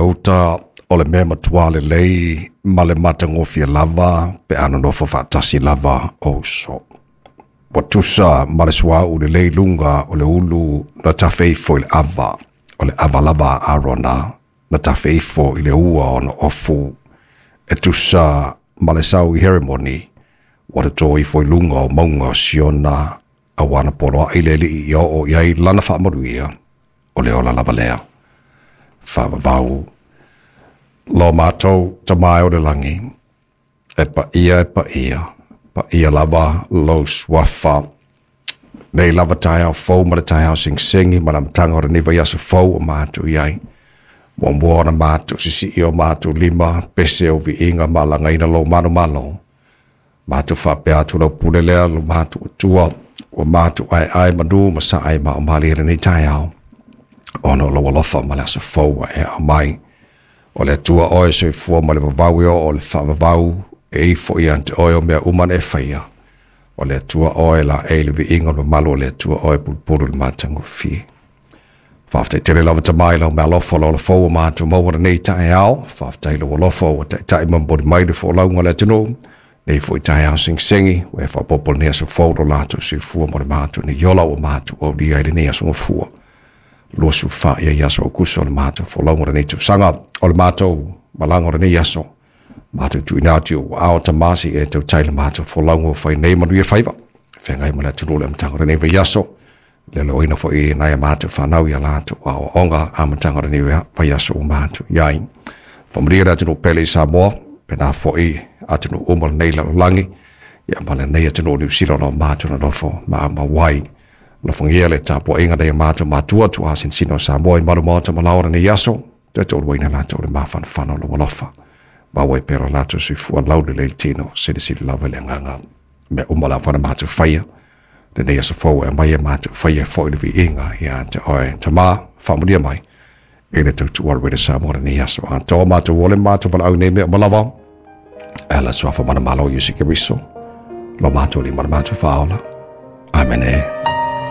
uta o le mea matua lelei ma le matagofie lava pe a nonofo faatasi lava o uso. Ua tusa ma le suauu lelei i luga o le ulu na tafe ifo i le ava, o le ava lava a Arona na tafe ifo i le ua ona ofu, e tusa ma le sau i Heremoni, ua toto ifo i luga o mauga o Siona, auā na poloai le Alii ia oo i ai lana faamanuia, o le ola lava lea. Faavavau lo matou Tama e o le lagi, e paia e paia, paia lava lou suafa. Nei lava taeao fou ma le taeao segisegi ma le amataga o lenei vaiaso fou o matou i ai. Muamua ona matou sisii o matou lima, pese o viiga ma alagaina lou manumalo. Matou faapea atu lau pule lea lo matou Atua, ua matou aeae manu ma sae ma o malie lenei taeao, ona o lou alofa ma le aso fou ua e aumai. O le Atua oe soifua ma le vavau e oo i le faavavau, e ifo ia te oe o mea uma na e faia. O le Atua oe laei le viiga o le mamalu o le Atua oe pulupulu i le matagofie. Faafetai tele lava Tama i lau meaalofa o le ola fou ua matou maua lenei taeao. Faafetai i lou alofa ua taitai ma momoli mai le folauga a le atunuu. Nei foi taeao segisegi, ua e faaopoopo lenei aso fou lo latou soifua mo le matou nei ola ua matou aulia ai lenei aso gafua. 24 ia aso Aukuso o le matou folauga o lenei tausaga. O le matou malaga o lenei aso, matou tuuina atu i ou aao Tama se i e tautai le matou folauga ua fai nei manuia faiva. Feagai ma le atunuu i le amataga o lenei vaiaso. Le loina foi nai a matou fanau ia latou aoaoga amataga o lenei vaiaso ua matou i ai. Faamanuia le atunuu pele i Samoa, pena foi atunuu uma o lenei lalolagi, ia ma lenei atunuu o Niu Sila o lo o matou nonofo ma aumau ai. Alofagia le tapuaiga nai a matou matua tuasinsina o Samoa i malu maota ma lao o lenei aso, toe toaluaina latou i le mafanafana o lou alofa. Maua ai pea lo latou soifua laulelei i le tino, silisili lava i le agaga. Mea uma lava na matou faia, lenei aso fou e aumai e matou faia foi le viiga ia te oe Tama, faamanuia mai i le tautua a Radio Samoa lenei aso atoa. Matou ole matou valaau nei mea uma lava e ala suafa mana malo Iesu Keriso lo matou lima le matou faaola. Amene.